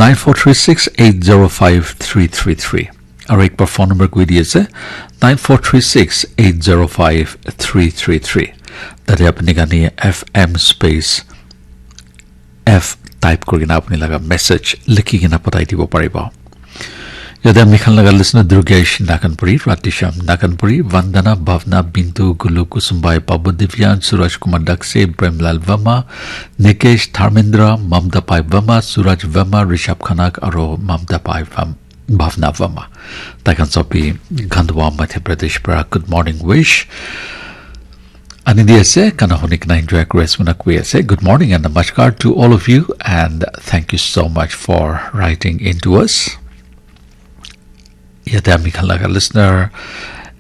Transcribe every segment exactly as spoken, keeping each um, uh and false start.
nine four three six eight zero five three three three. Aru ekbar phone number koi di ase, nine four three six eight zero five three three three. Tate apni khan F M space F type kuri kena apni laga message likhi kena patai dibo paribo. Yate ami khan laga listener Durgesh Naganpuri, Radheshyam Naganpuri, Vandana, Bhavna, Bintu, Gulu, Kusumbai, Babu Divyan, Suraj Kumar Dakse, Premlal Verma, Nikesh, Dharmendra, Mamta Pai Verma, Suraj Verma, Rishabh Khanak, aro Mamta Pai Verma, Bhavna Verma. Tai khan sob bi Khandwa, Madhya Pradesh para good morning wish ani di ase. Gana huni kena enjoy kuri ase koina koi ase. Good morning and namaskar to all of you, and thank you so much for writing in to us. Yate ami khan laga listener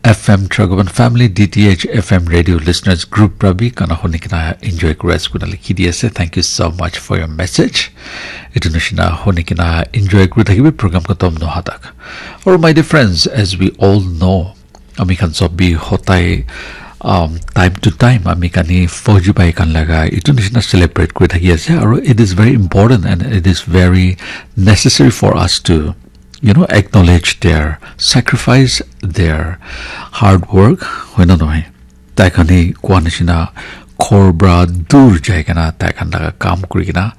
F M Tragoban Family, D T H F M Radio Listeners Group para bi gana huni kena enjoy kuri ase koina likhi di ase. Thank you so much for your message. Etu nishina huni kena enjoy kuri thakibi program khatam noha tak. Or my dear friends, as we all know, ami khan sob bi hotai, um, time to time ami khan hi Fauji bhai khan laga etu nishina celebrate kuri thaki ase. Aru it is very important and it is very necessary for us to, you know, acknowledge their sacrifice, their hard work, hoina nohoi? Tai khan hi koa nishina ghor pra dur jai kena tai khan laga kam kuri kena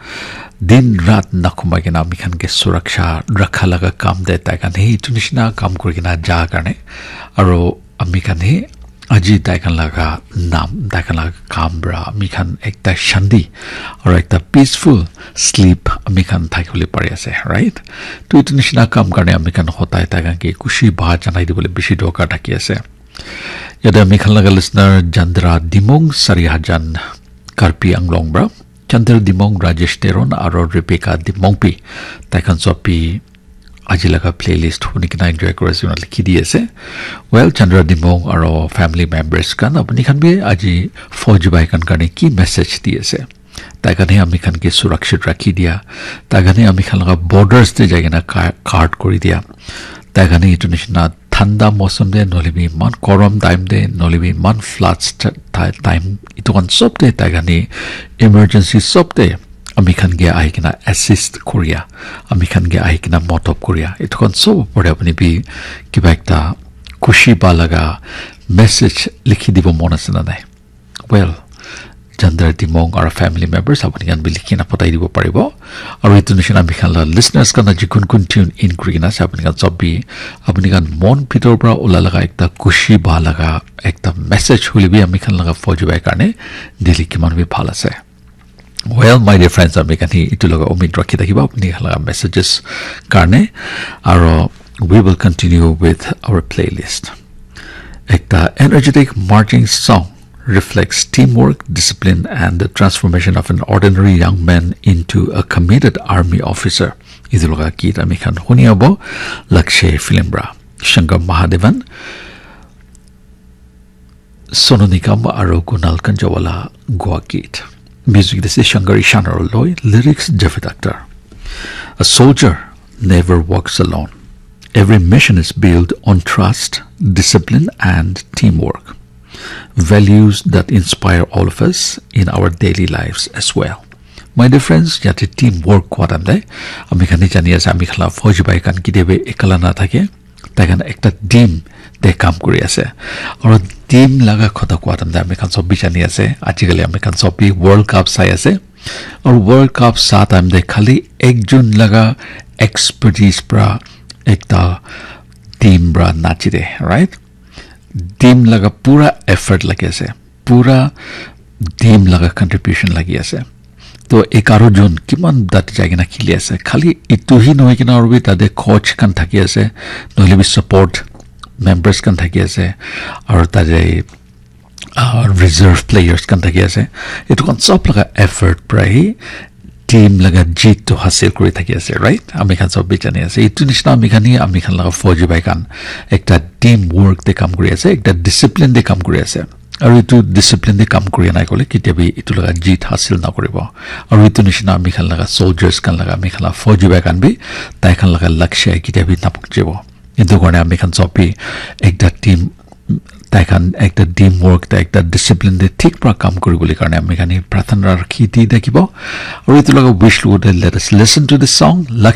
din rat nakhumai kena ami khan ke suraksha rakha laga kam te tai khan hi etu nishina kam kuri kena ja karne, aro ami khan hi aji tai khan laga nam, tai khan laga kam pra ami khan ekta shanti aro ekta peaceful sleep ami khan thakibole pari ase, right? To etu nishina kam karne ami khan hotai tai khan ke khushi ba janai dibole bishi dorkar thaki ase. Yate ami khan laga listener Chandra Dimong, Sari Hajan, Karbi Anglong pra. Chandra Dimong, Rajesh Teron aro Rebecca Dimong pi tai khan sob bi aji laga playlist huni kena enjoy kuri ase koina likhi di ase. Well, Chandra Dimong aro family members khan, apni khan bi aji Fauji bhai khan karne ki message di ase? Tai khan hi ami khan ke surakshit rakhi dia. Tai khan hi ami khan laga borders te jai kena ka-, guard kuri dia. Tai khan hi etu nishina thanda mosam te, nohole bi iman gorom time te, nohole bi iman floods ta-, ta-, time, etu khan sob te tai khan hi emergency sob te ami khan ke ahi kena assist kuria, ami khan ke ahi kena modot kuria, etu khan sob opor te apni bi kiba ekta khushi pa laga message likhi dibo mon ase na nai? Well, Chandra Dimong aro family members apni khan bi likhi na patai dibo paribo. Aro etu nishina ami khan la listeners khan aji kun kun tune in kuri kena ase, apni khan sob bi apni khan mon bhitor pra ula laga ekta khushi pa laga ekta message hoile bi ami khan laga Fauji bhai karne dile kiman bi bhal ase. Well, my dear friends, ami khan hi etu laga umid rakhi thakiba apni khan laga messages karne, aro we will continue with our playlist. Ekta energetic marching song reflects teamwork, discipline, and the transformation of an ordinary young man into a committed army officer. Etu laga git ami khan huni abo Lakshay film pra. Shankar Mahadevan, Sonu Nigam aro Kunal Kanjawala goa git. Music this is Shankar Ishan aro loi, lyrics Javed Akhtar. A soldier never walks alone. Every mission is built on trust, discipline, and teamwork. Values that inspire all of us in our daily lives as well. My dear friends, yate team work kua time te ami khan hi jani ase, ami khan la Fauji bhai khan kitiaba ekala na thake, tai khan ekta team te kam kuri ase. Aru team laga kotha kua time te ami khan sob bi jani ase, ajikali ami khan sob bi World Cup sai ase. Aru World Cup sa time te khali ekjon laga expertise pra ekta team pra nachi de, right? Team laga pura effort lagi ase, pura team laga contribution lagi ase. To egharo jon kiman tate jai kena kheli ase, khali etu hi nohoi kena aru bi tate coach khan thaki ase, nohole bi support members khan thaki ase, aru tate ah, reserve players khan thaki ase. Etu khan sob laga effort pra hi team laga jeet tu hasil kuri thaki ase, right? Ami khan sob bi jani ase. Etu nishina ami khan hi, ami khan laga Fauji bhai khan ekta team work te kam kuri ase, ekta discipline te kam kuri ase. Aru etu discipline te kam kuri nai kole kitiaba etu laga jeet hasil na kuribo. Aru etu nishina ami khan laga soldiers khan laga, ami khan laga Fauji bhai khan bi tai khan laga lakshya kitiaba na pahunchibo. Etu karne ami khan sob bi ekta team, tai khan ekta team work te, ekta discipline te thik pra kam kuribole karne ami khan hi prarthana rakhi di thakibo. Aru etu laga wish logote let us listen to the song Lakshya